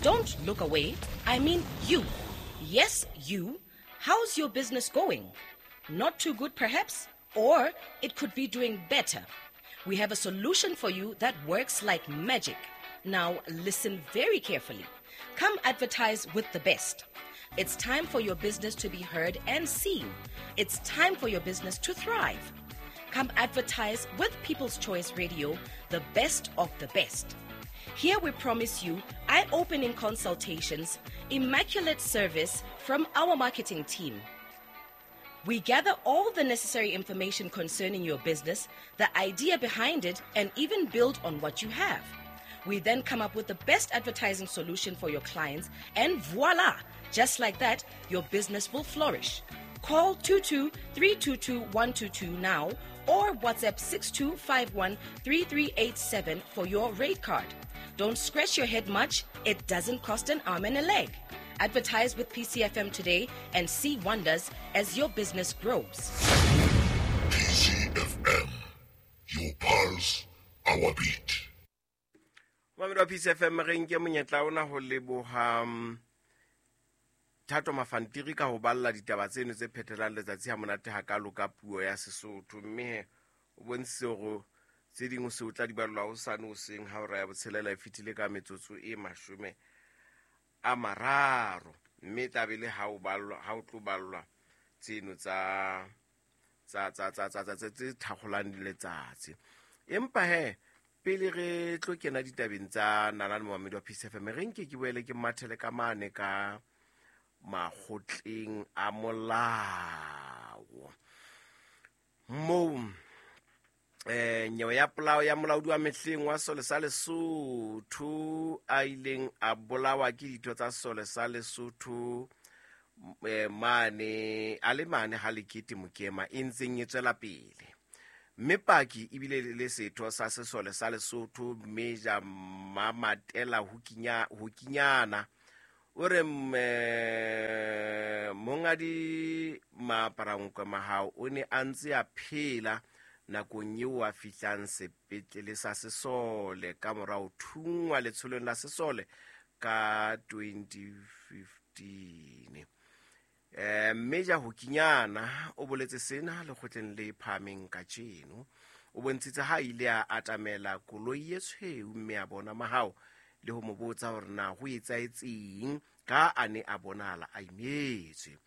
Don't look away. I mean you. Yes, you. How's your business going? Not too good, perhaps? Or it could be doing better. We have a solution for you that works like magic. Now, listen very carefully. Come advertise with the best. It's time for your business to be heard and seen. It's time for your business to thrive. Come advertise with People's Choice Radio, the best of the best. Here we promise you eye opening consultations, immaculate service from our marketing team. We gather all the necessary information concerning your business, the idea behind it, and even build on what you have. We then come up with the best advertising solution for your clients, and voila! Just like that, your business will flourish. Call 22 322 122 now or WhatsApp 6251 3387 for your rate card. Don't scratch your head much, it doesn't cost an arm and a leg. Advertise with PCFM today and see wonders as your business grows. PCFM, your pulse, our beat. Mamedi wa PCFM re nke monyetla ona ho leboha Thato Mafantiri ka ho balla ditaba tseno tse phethelang letsatsi ha monate hakalo ka puo ya Sesotho mme he o bontshitse hore tse ding o se o tla di ballwa hosane hoseng ha hora ya botshelela e fetile ka metsotso e 30 mme e tla be le ha o ballwa ha o tlo ballwa tseno tsa tsa tsa tsa tsa tsa tse thakgolang letsatsi empa he pele re tlo kena ditabeng tsa nalane momamedi wa Peace FM re nke ke boele ke mathele ka mane ka makgotleng a molao moo nyewe ya polao ya molaodi wa mehleng wa sole sa Lesotho a ileng a bolawa ke ditho tsa sole sa Lesotho mane a le mane ha lekete Mokema e ntseng e tswela pele mme paki ebile le setho sa sesole sa Lesotho Major Mamatela Hokinyana o re mongadi Maaparankoe Mahao o ne a ntse a phela nakong eo a fihlang sepetlele sa sesole ka mora ho thunngwa letsholong la sesole ka 2015. Major Hokinyana o boletse sena lekgotleng le phahameng kajeno. O bontshitse ha ile a atamela koloi e tshweu mme a bona Mahao le ho mo botsa hore na ho etsahetseng ka a ne a bonahala a imetswe.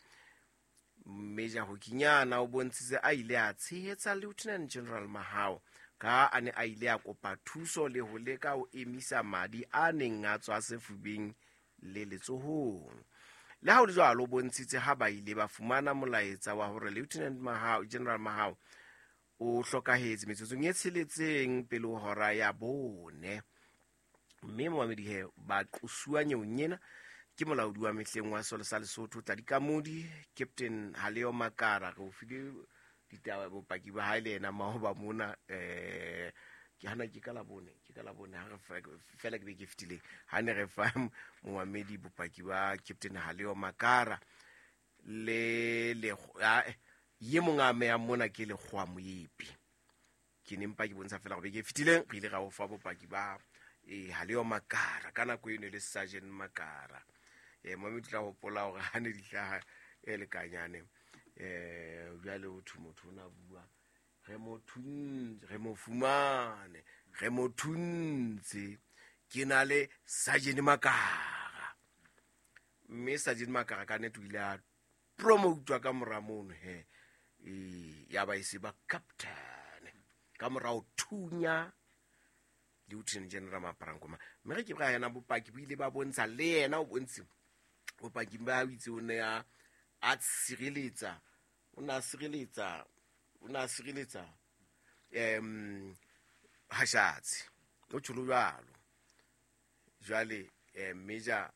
Major Hokinyana o bontshitse a ile a tshehetsa Lieutenant General Mahao ka a ne a ile a kopa thuso le ho leka ho emisa madi a neng a tswa sefubeng le letsohong. Le ha ho le jwalo, o bontshitse ha ba ile ba fumana molaetsa wa hore Lieutenant Mahao, General Mahao o hlokahetse metsotsong e tsheletseng pele ho hora ya 4. Mme momamedi he ba qosuwa nyeong ena ke molaodi wa mehleng wa sole sa Lesotho Tladi Kamodi, Captain Haleo Makara. Re o file ditaba bopaki ba hae le yena maoba mona ke hana ke ka labone ha re fela ke be ke fetileng ha ne re fa momamedi bopaki ba Captain Haleo Makara le le ye mong a meyang mona ke Lekgowa Moepi. Ke ne mpa ke bontsha fela gore beke e fetileng re ile ra o fa bopaki ba Haleo Makara ka nako eno le Sergeant Makara. Momamedi tla hopola hore ha ne di hlaha e lekanyane jwale ho thwe motho o na bua re mo thuntse, re mo fumane, re mo thuntse ke na le Sergeant Makara. Mme Sergeant Makara ka nnete o ile a promotwa ka mora mono he ya ba e se ba captain ka mora ho thunya Lieutenant General Maaparankoe. Mme re ke ra yena bopaki bo ile ba bontsha le yena o bontshi bopaki ba itse o ne a tshireletsa o na sireletsa Hashatsi o tjholo jwalo. Jwale Major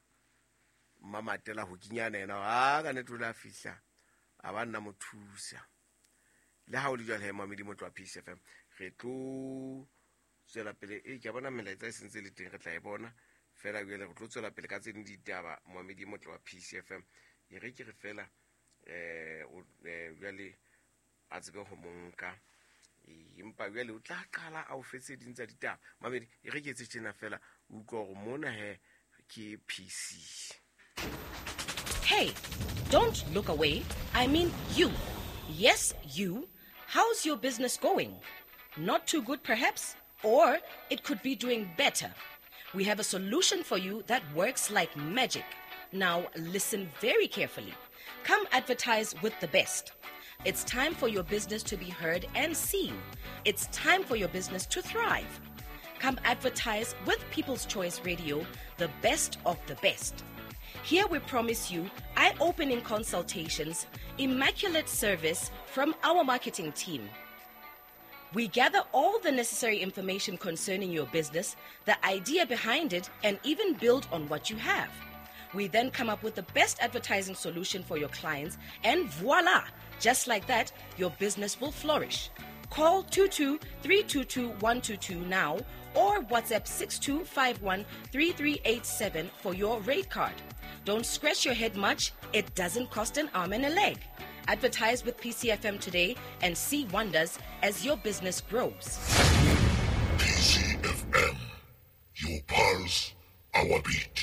Mamatela Hokinyana yena a ka nnete o la fihla a ba nna mo thusa. Le ha o le jwale he momamedi motho wa Peace FM re tlo tswela pele ke a bona melaetsa e sentse le teng re tla e bona fela jwale re tlo tswela pele ka tse ding ditaba momamedi motho wa Peace FM e re ke re fela jwale a tsebe ho monka empa jwale o tla qala a o fetse ding tsa ditaba mamedi e re ke etse tjena fela o utlwa hore mona he ke PC. Hey, don't look away. I mean you. Yes, you. How's your business going? Not too good, perhaps? Or it could be doing better. We have a solution for you that works like magic. Now, listen very carefully. Come advertise with the best. It's time for your business to be heard and seen. It's time for your business to thrive. Come advertise with People's Choice Radio, the best of the best. Here we promise you eye opening consultations, immaculate service from our marketing team. We gather all the necessary information concerning your business, the idea behind it, and even build on what you have. We then come up with the best advertising solution for your clients, and voila! Just like that, your business will flourish. Call 22 322 122 now or WhatsApp 6251 3387 for your rate card. Don't scratch your head much, it doesn't cost an arm and a leg. Advertise with PCFM today and see wonders as your business grows. PCFM, your pulse, our beat.